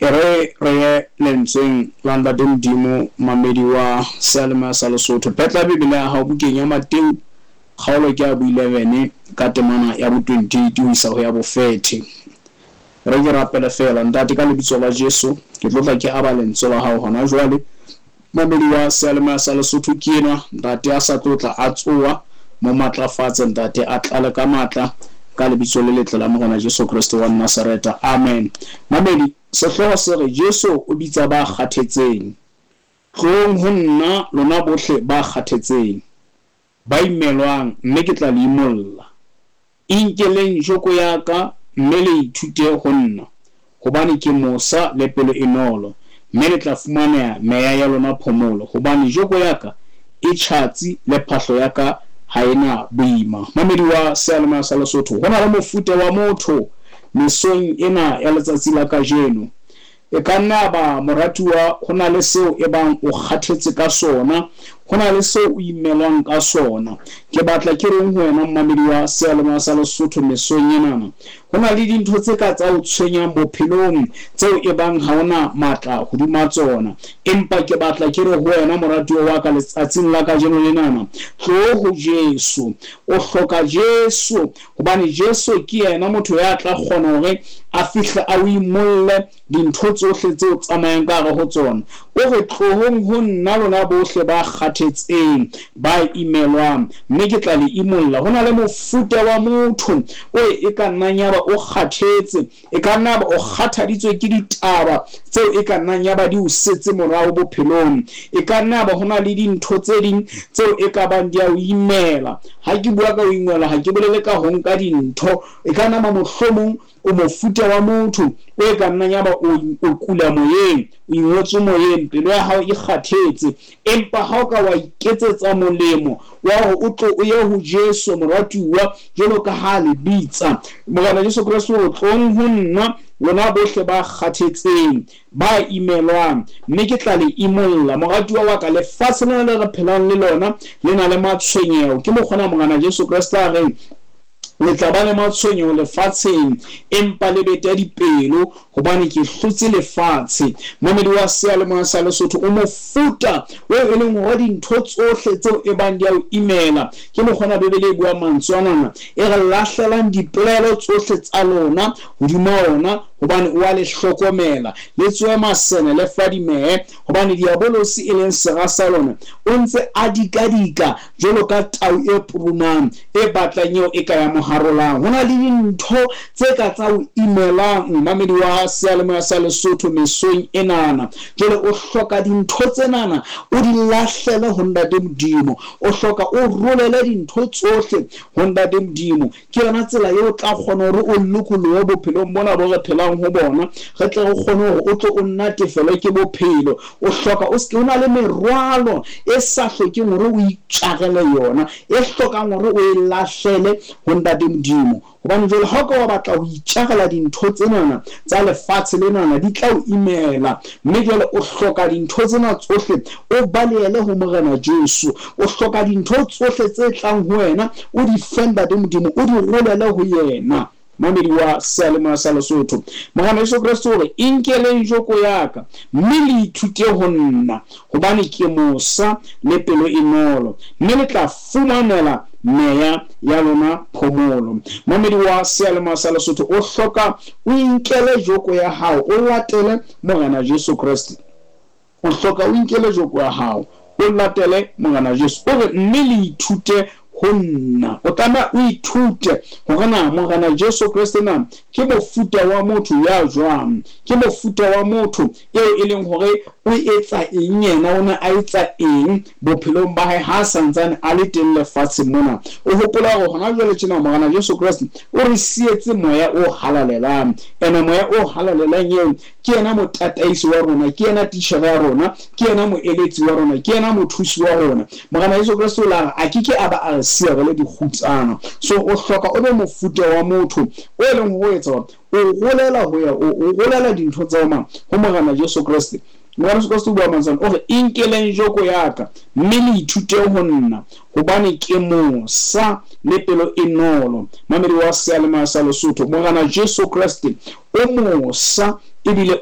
E re re ye lentsweng la Ntate Modimo, mamedi wa seyalemoya sa Lesotho. Phetla Bibele ya hao bukeng ya Mateu, kgaolo ke ya bo 11 ka temana ya bo 28 ho isa ho ya bo 30. Re ke rapele feela, Ntate, ka lebitso la Jesu, ke tlo tla ke aba lentswe la hao hona jwale. Mamedi wa seyalemoya sa Lesotho ke enwa, Ntate a sa tlo tla a tsoa, mo matlafatse, Ntate, a tlale ka matla, ka lebitso le letle la Morena Jesu Kreste wa Nazareta. Amen. Mamedi, sehlooho se re Jesu o bitsa ba kgathetseng. Tloong ho nna lona bohle ba kgathetseng, ba imelwang, mme ke tla le imolla. Inkeleng joko ya ka, mme le ithute ho nna, hobane ke mosa le pelo e nolo, mme le tla fumaneha meya ya lona phomolo, hobane joko ya ka e tjhatsi le phahlo ya ka ha e na boima. Mamedi wa seyalemoya sa Lesotho, ho na le mofuta wa motho mesong ena ya letsatsi la kajeno. E ka nna ya ba moratuwa, ho na le seo e bang o kgathetse ka sona, ho na le seo o imelwang ka sona. Ke batla ke reng ho wena mmamedi wa seyalemoya sa Lesotho mesong enana? Ho na le dintho tse ka tsa o tshwenyang bophelong tseo e bang ha o na matla hodima tsona. Empa ke batla ke re ho wena moratuwa wa ka letsatsing la kajeno lenana, tloo ho Jesu. O hloka Jesu, hobane Jesu ke yena motho ya tla kgona hore a fihle a o imolle dintho tsohle tseo tsamayang ka hare ho tsona. O re, tlohong ho nna lona bohle ba kgathetseng, ba imelwang, mme ke tla le imolla. Ho na le mofuta wa motho o e ka nnang ya ba o kgathetse, e ka nna ba o kgathaditswe ke ditaba tseo e ka nnang ya ba di o setse morao bophelong. E ka nna ba ho na le dintho tse ding tseo e ka bang di a o imela. Ha ke bua ka ho ingwela, ha ke bolele ka ho nka dintho. E ka nna ba mohlomong o mofuta wa motho o e ka nnang ya ba o kula moyeng, o ingwetswe moyeng, pelo ya hao e kgathetse. Empa ha o ka wa iketsetsa molemo wa hore o tlo o ye ho Jesu moratuwa, jwalo ka ha le bitsa, Morena Jesu Kreste o tlong ho nna lona bohle ba kgathetseng, ba imelwang, mme ke tla le imolla. Moratuwa wa ka, lefatshe lena le re phelang le lona le na le matshwenyeho. Ke mokgona Morena Jesu Kreste a reng, le tla ba le matshwenyeho lefatsheng, empa le bete dipelo, hobane ke hlotse lefatshe. Mamedi wa seyalemoya sa Lesotho, o mofuta o e leng hore dintho tsohle tseo e bang di a o imela. Ke mokgona Bibele e buang mantswe anana, e re lahlelang dipelaelo tsohle tsa lona hodima ona, hobane o a le hlokomela. Le tsohe masene, le fadimehe, hobane diabolosi e leng sera sa lona o ntse a dikadika jwalo ka tau e purumang, e batlang eo e ka ya mo harolang. Ho na le dintho tse ka tsa o imelang, mamedi wa seyalemoya sa Lesotho mesong enana. Jwale o hloka dintho tsenana o di lahlele ho Ntate Modimo. O hloka o rolele dintho tsohle ho Ntate Modimo. Ke yona tsela eo o tla kgona hore o lokolohe bophelong bona bo re phelang ho bona, re tle re kgone hore o tlo o natefelwe ke bophelo. O hloka o se o na le merwalo e sa hlokeng hore o itjarele yona, e hlokang hore o e lahlele ho Ntate Modimo. Hobane jwale ha o ka wa batla ho itjarela dintho tsenana tsa lefatshe lenana, di tla o imela. Mme jwale o hloka dintho tsena tsohle o balehele ho Morena Jesu. O hloka dintho tsohle tse tlang ho wena, o di fe Ntate Modimo, o di rolele ho yena. Mamedi wa seyalemoya sa Lesotho, Morena Jesu Kreste o re, inkeleng joko ya ka, mme le ithute ho nna, hobane ke mosa le pelo e nolo, mme le tla fumanela meya ya lona phomolo. Mamedi wa seyalemoya sa Lesotho, o hloka o inkele joko ya hao, o latele Morena Jesu Kreste. O hloka o inkele joko ya hao, o latele Morena Jesu. O re, mme le ithute ho nna. O tlameha o ithute hore na Morena Jesu Kreste na ke mofuta wa motho ya jwang, ke mofuta wa motho eo e leng hore o etsa eng, yena o ne a etsa eng bophelong ba hae ha santsane a le teng lefatsheng mona. O hopola hore hona jwale tjena Morena Jesu Kreste o re sietse moya o halalelang. Ene moya o halalelang eo ke yena motataisi wa rona, ke yena titjhere ya rona, ke yena moeletsi wa rona, ke yena mothusi wa rona. Morena Jesu Kreste o la re a ke ke a ba a re siya re le dikgutsana. So o hloka o be mofuta wa motho o e leng ho etsa hore o rolela ho ya, o rolela dintho tsa mang ho Morena Jesu Kreste. Morena Jesu Kreste o bua mantswe o re, inkeleng joko ya ka, mme le ithute ho nna, hobane ke mosa le pelo e nolo. Mamedi wa seyalemoya sa Lesotho, Morena Jesu Kreste o mosa ebile